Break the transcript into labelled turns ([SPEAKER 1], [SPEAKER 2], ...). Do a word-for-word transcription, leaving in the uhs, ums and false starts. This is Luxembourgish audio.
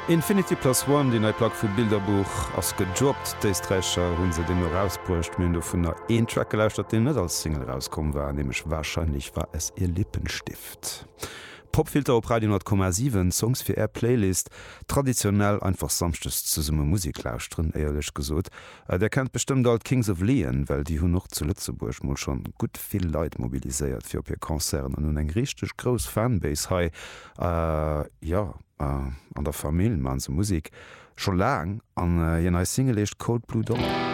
[SPEAKER 1] Infinity Plus One, déi nei Plack vu Bilderbuch ass gedroppt. D'Éisträicher hu se deemno erausbruecht. Mir hunn dovunner een Track gelauschtert, deen net als Single erauskomm war, nämlech Wahrscheinlich war es ihr Lippenstift. Popfilter op Radio honnert Komma siwen, Songs fir är Playlist. Traditionell einfach samschdes zesumme Musek lauschteren, éierlech gesot. Där kennt bestëmmt all d'Kings of Leon, well déi hunn och zu Lëtzebuerg mol schonn gutt vill Leit mobiliséiert fir op hir Concerten an hunn eng richteg grouss Fanbase hei. Jo, an der Famill maan se Musek scho laang an hir nei Single heescht Cold Blue Dollar.